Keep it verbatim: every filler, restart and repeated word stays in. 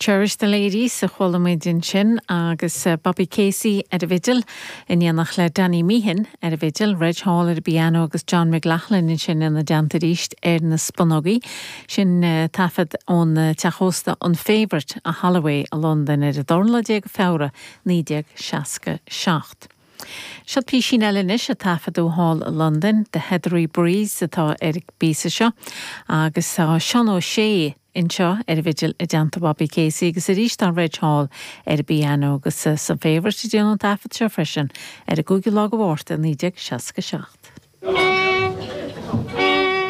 Cherish the Ladies a chuala muid ansin agus eh, Bobby Casey ar an bhfidil in éineacht le Danny Meehan ar an bhfidil, Reg Hall ar an bpianó agus John McLaughlin ansin ina dteannta arís ar na spúnógaí sin eh, taifead ón eh, teach ósta an Favourite i Holloway i Londain ar an dara lá déag Feabhra naoi déag seasca seacht. Seo písín eile anois a taifeadadh thall i Londain, The Heathery Breeze atá ar an bpíosa seo agus tá Seán Ó Sé anseo ar an bhfidil i dteannta Bobby Casey agus arís tá Reg Hall ar an bpianó agus san Favourite a déanadh an taifead seo freisin ar an gcúigiú lá de Mhárta naoi déag seasca seacht.